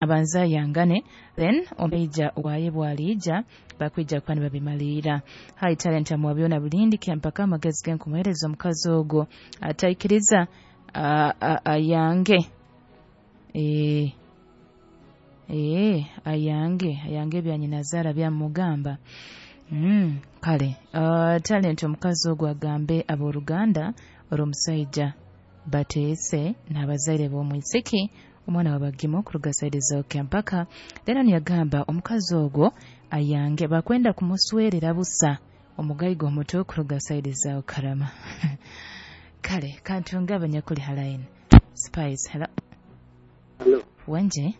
Abanza yangane, then omuija waye bwaliija bakwija kuba nibabimaliira. Hi Talent, amwabyona bulindi kyampaka amagezi genkumuhereza omukazi ogwo ataikiriza ayange ayange ebya nyinazaara byamugamba. Kale Talent, omukazi ogwo agambe abooluganda olw'omusaija bateese n'abazaire b'omwisiki omwana wabagimo kuruga saidi za mpaka. Then yagamba omukazi ogwo ayange bakwenda kumuswerera busa omugaiga omuto kuruga saidi za Karama. Kale kantunga abanyakuli halaini Spice. Hello. Hello. Wanje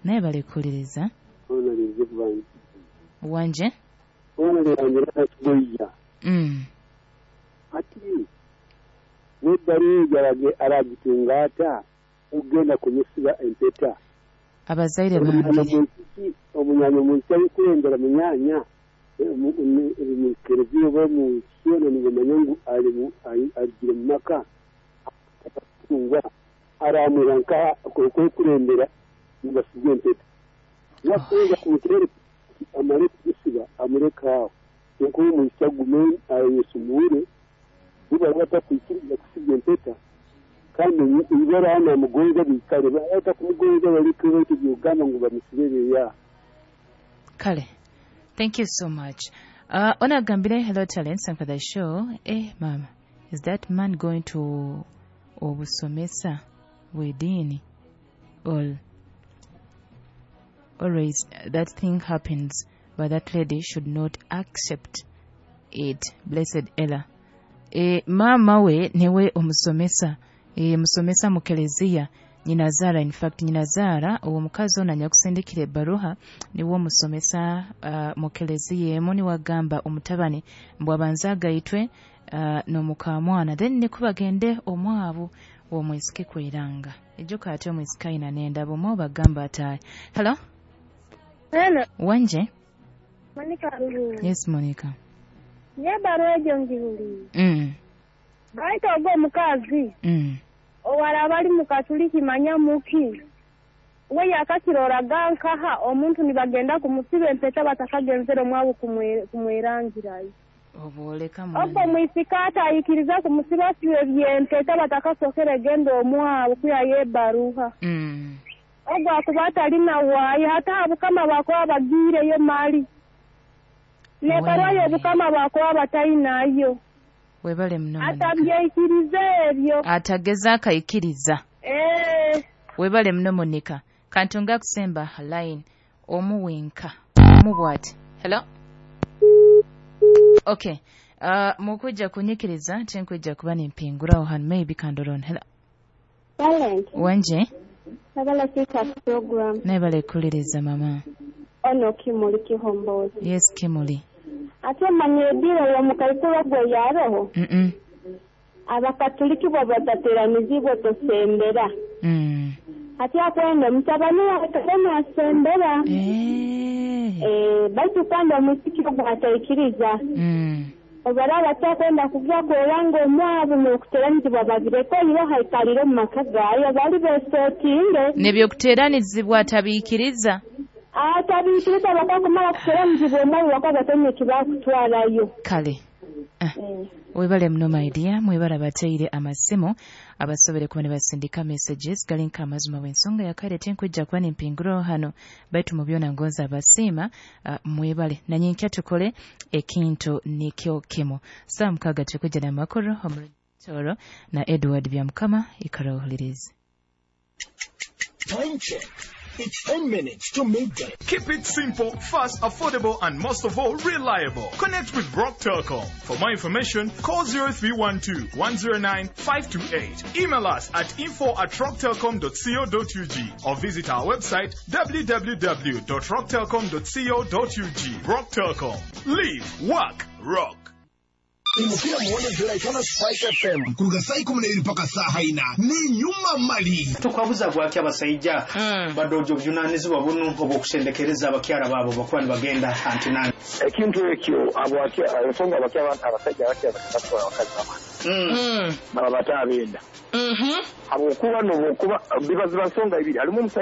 naye bali kuwuliriza. Wanje ati nebbaluwa aragitunga ata ogenda kumusiba empeta. Abazaire bange omunyanya omwisa kulembera munyanya mu kereziya oba mu kisona nibamanya ngu aligire mu maka atungwa aramura nka kulembera nibasiba empeta nakuza kumutere amale kusiba amureka aho nkuko omwisa gume ayesumure niba batakwikiriza kusiba empeta kandi ibara namugonza bikale batamugonza balike baitu ngu bamusibere ya. Kale, thank you so much. Onagambire hello Talent, thank for the show. Mama, is that man going to obusomesa bw'eddiini or always that thing happens, but that lady should not accept it. Blessed Ella. Mama we newe omusomesa, musomesa mu kelezia nyinazara, in fact nyinazara uwo mukazi ono anyakusindikira ebbaluha niwe omusomesa mu kelezia emu, niwagamba omutabani mbw abanza agaitwe n'omukamwana, then nikubagende omwabu omwisiki kwiranga ejuka ate omwisiki ayina n'endabo omwo bagamba ati. Hello. Hello. Wanje Monica. Yes Monica. Nyebaruwa egyo ngihulire. Baita ogwo omukazi owara bali mukatuliki manya muki we yakakiroraga nkaha omuntu nibagenda kumusiba empeta batakagenzere omwabo kumwerangirayo. Oboleka ogwo mwisika atayikiriza kumusiba sibe byempeta batakasokere genda omwabo kuya yebaruha. Ogwo akuba atalina waayo hata abukama bakuba bagiireyo mali nebaruwa y'obukama bakuba batayinayo. Webale muno. Atabyekiriza ebyo. Atageza akaikiriza. Webale muno Monica. Kantunga kusemba line omuwenka. Mubwati. Hello. Okay. Mukujja kunyikiriza tinkujja kuba nimpinguraho hano maybe kandoron. Hello. Talent. Wanje. Nabala kita program. Nebale kuliriza mama. Ono Kimuli Kihombozi. Yes Kimuli. Ate manyedira wa mukaikuru gwe yaroho. Abakatuliki bo batateranizibwa tosembera. Ate akwenda mutabani wawe asembera. Baitu kandi omusiki gwataikiriza. Obara batakwenda kugya kweranga omwabo n'okuteranizibwa babireko ibo haikalire mu maka gayo bali besotinge. N'ebyokuteranizibwa atabiikiriza. Atabiikiriza bakakumala kuteranizibwa omwabo bakabatonye kibakutwarayo. Kale. Webale muno my dear, mwebale abateire amasimu abasobere kuba nibasindika messages galinka amazima w'ensonga yakale tinkujja kuba nimpinguraho hano baitu mu byona ngonza abasiima. Mwebale nanyenkya tukole ekintu nikyo kimu. Saa 6 tukujja n'amakuru omutoro na Edward Byamukama ikarawuliriza. Time check. It's 10 minutes to midday. Keep it simple, fast, affordable, and most of all, reliable. Connect with Rock Telcom. For more information, call 0312 109 528. Email us at info@rocktelcom.co.ug or visit our website www.rocktelcom.co.ug. Rock Telcom. Live, work, rock. Imukira muone zera Spice FM kuruga saa 12 mpaka saa 4 ni nyuma mali tukwabuza gwaki abasajja badojo bujunanizibwa bunu obwokusendekereza abakyala baabo bakuba nibagenda antinani ekintu ekyo ensonga abasajja abakyala abakazi baba baba batabenda habwokuba nobokuba bibaziba nsonga ibiri alimu omusajja